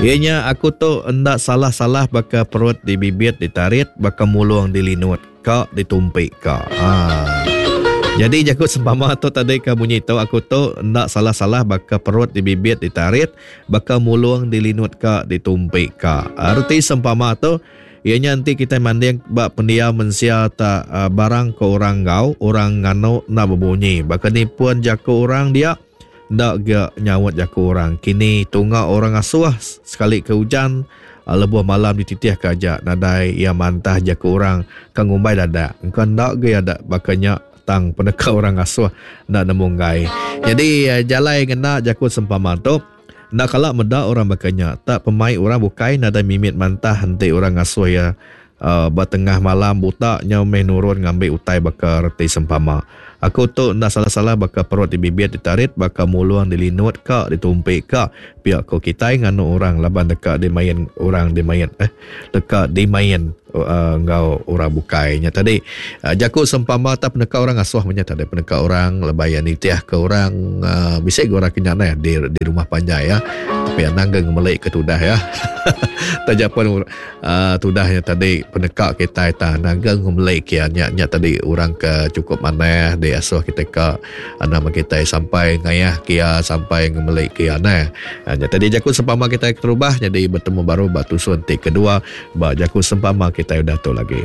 Iya nya aku tu enda salah-salah baka perut dibibit ditarit baka mulung dilinut ka ditumpi ka. Ha. Jadi jaku sempama tu tadi ke munyi tu aku tu enda salah-salah baka perut dibibit ditarit baka mulung dilinut ka ditumpi ka. Reti sempama tu iya nya enti kitai manding ba pendiau mensia tak barang ke orang enggau orang nganu enda bebunyi baka ni pun jaku orang dia Enda ga nyaut jaku orang kini tunga orang asuh sekali ke ujan lebuh malam dititih ke aja nadai iya mantah jaku orang ka ngumbai dadak engka enda ga iya da baka nya tang peneka orang asuh enda nemu enggai. Nyadi jalai ngena jaku sempama tu enda kala meda orang baka nya tak pemai orang bukai nadai mimit mantah enti orang ngasuh iya Ba tengah malam buta nyau meh nurun ngambi utai baka reti sempama. Aku tu enda salah-salah baka perut dibibit ditarit baka mulung dilinut ka ditumpi ka pia ko kitai nganu orang laban deka dimain orang dimain eh deka dimain enggau orang bukai nya tadi. Jaku sempama tau peneka orang asuh meh nya tadi peneka orang lebai iya nitih ke orang bisi ga orang ke nya neh di rumah panjai iya tapi anang ga ngemeli ke tudah iya taja pun Aaa tudah nya tadi peneka kitai tang nangga ngemeli kia nya nya tadi orang ke chukup manah diasuh kitai ka nama kitai sampai ngayah kia sampai ngemeli kia neh. Nya tadi jaku sempama kitai keterubah nyadi betemu baru ba tusun ti kedua ba jaku sempama kitai udah tu lagi.